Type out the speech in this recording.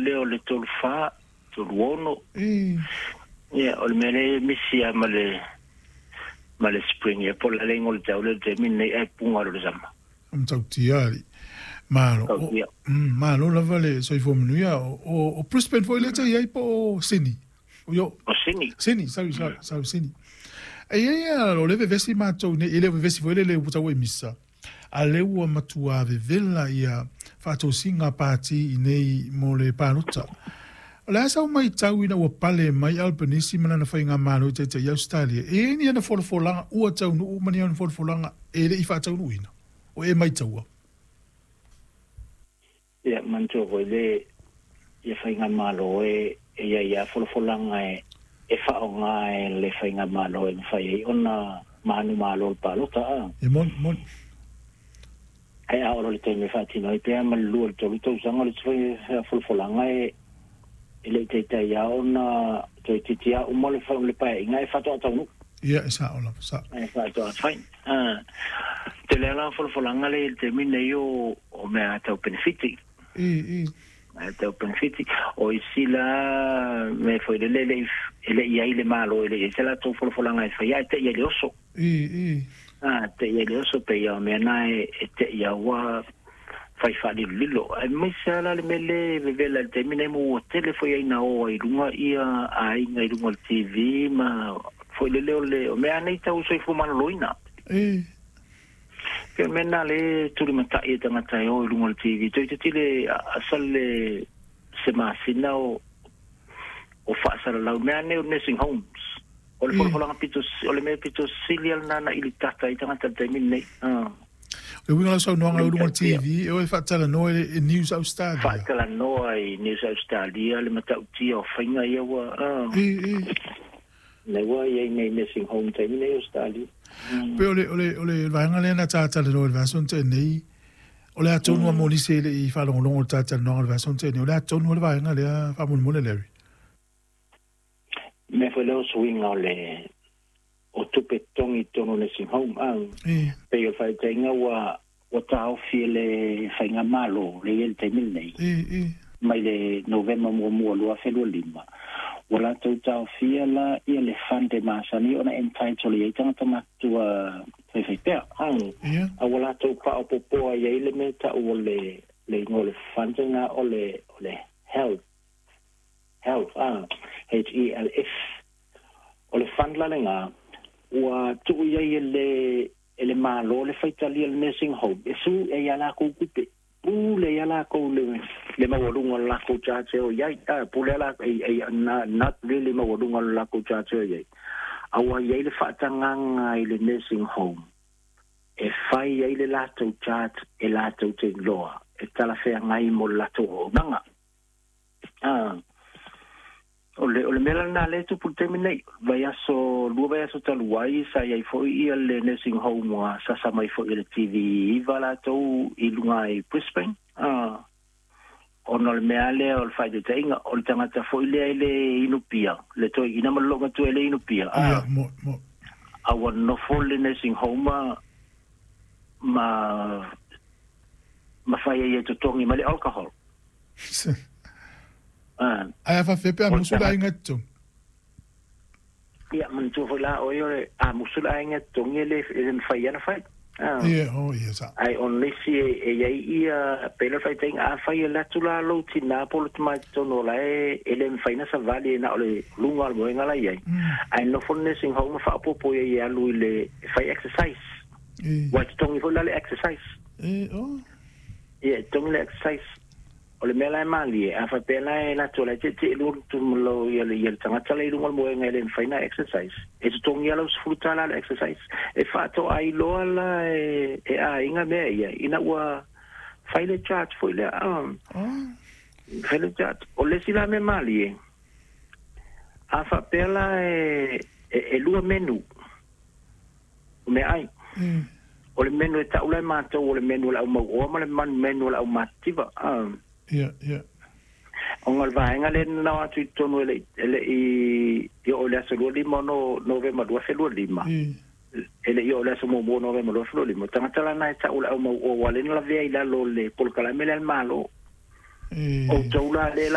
lele o le 34 36. E. Ia, o le mea lea e misi lava ma le spring, ia po o le aleiga o le tau lea i le taimi lenei ae puga loa le sama. O matautia alii. Malo. Tautia. Malo lava le soifua manuia. O Brisbane foi lea e te i ai po o Sydney? Yo. O Sydney. Sydney, sorry, sorry, sorry, Sydney. E i ai o le vevesi matou nei, e le o vevesi foi lele ua tau e misa. A lea ua matua vevela ia faatosina pati i nei mo le palota. O le a sau matau ina ua pale mai Albanese ma lana faigamalo i taitai Australia. E i ai ni ana folafolaga ua taunuu ma ni ana folafolaga e le i faataunuuina. O e maitaua. Ia, manatua foi le ia faigamalo e ia ia folafolaga e faaaoga e le faigamalo e mafai ai ona manumalo le palota a. E moni, moni. Ae a oo loa i le taimi e faatino ai pea ma le 2 i le 3 tausaga o le isi folafolaga e le i taitai lava ona toe titi lava uma le paeaiga e faatoa taunuu. Ia, e sao lava, sao. E faatoa fai. Tele lava la folafolaga lea i le taimi lenei o mea tau penefiti. E, e. Mea tau penefiti. O isi la mea foi lele e le i ai le Malo, e le i ai se latou folafolaga e faia, ae te i ai le oso. E, e. A, te i ai le oso pe ia o mea na e te i ua fai faalilolilo. Ae maise la le mea le vevela i le taimi nei mo ua tele foi ai na o ai luga ia aiga i luga o le TV ma foi lele o le o mea nei tau soifua maloloina. E. Pe o mea na le tulimatai e tagata e o i luga o le TV. Toe titile asa le se masina o faasalalau mea nei o nursing homes. O le folafolaga pito, o le mea pito sili lena na ili tata i tagata i le taimi lenei. Ah. Le uiga o lau saunoaga i luga o le TV, e o e faatalanoa e News Australia. Faatalanoa i News Australia le matautia o faiga ia ua. E, e. Le ua i ai nei nursing home taimi nei Australia. Pe o le vaega lea na tatalanoa i le vaiaso na tea nei, o le a tonu a mo nisi e le i faalogologo i le talatalanoaga o le vaiaso na tea nei, o le a tonu le vaega lea faamolemole, Larry? Mea foi lea o suiga o le o tupe totogi i totonu o nursing home. E. Pei o le faataitaiga ua taofi e le faigamalo le i ai le taimi lenei. E, e. Mai le Novema 1 2025. Ua latou taofia la ia le fund e masani ona entitle i ai tagata matutua faifaipea. A ua latou faaopoopoa i ai le mea tau o le igoa o le fund lena o le health HELF. O le fund la lena ua tuu i ai e le Malo le faitalia le nursing home e su e ia lakou tupe pule ia lakou le maualuga o le lakou charge o i ai pule la e na not really maualuga o le lakou charge o i ai a ua i ai le faatagaga i le nursing home e fai ai le latou charge e latou te iloa e talafeagai mo le latou auaunaga. O le mea lena lea e tupu i le taimi nei. Vaiaso, 2 vaiaso talu ai sa i ai foi ia le nursing home ua sasa mai foi e le TV 9 latou i luga i Brisbane. Ona o le mea lea o le faataitaiga o le tagata foi lea i le inupia, le toeaina ma le loomatua i le inupia. Ia, mo, mo. A ua nofo le nursing home ma fai ai e totogi mai le alcohol. Ae a faafefea pe a musu le aiga e totogi? Ia, manatua foi la oe o le a musu le aiga e totogi e le mafai ana fai. Ia, o, ia, sa. Ai o nisi e i ai ia pe le faitaitaiga a fai e le atu la lou tinā po o le tamai totonu o la e le mafai na savali e na o le luga o le moega la i ai. Ae nofo le nursing home ma faaopoopo i ai e alu i le fai exercise. Ua e totogi foi la le exercise. E, o. Ia, e totogi le exercise. O le mea la e malie, a faapea la e latou la e tietie lua lo ia le tagata la i luga o le moega e le mafai na exercise. E totogi lava lau $10 le exercise. E faatoa iloa la e aiga mea ia, ina ua fai le charge foi lea. Fai le charge. O le isi la mea malie, a faapea la e lua menu, o mea ai. O le menu e tau la e matou o le menu o le au mauoa ma le menu o le au matitiva. Ia, ia. Ona o le vaega lea na nao atu i totonu e le i oo i le aso 25 no Novema 2025. E le i oo i le aso 1 Novema 2025. Tagata la na e tau le au mauoa ua le na lavea i lalo o le polokalame lea a le Malo. E. O tou la le la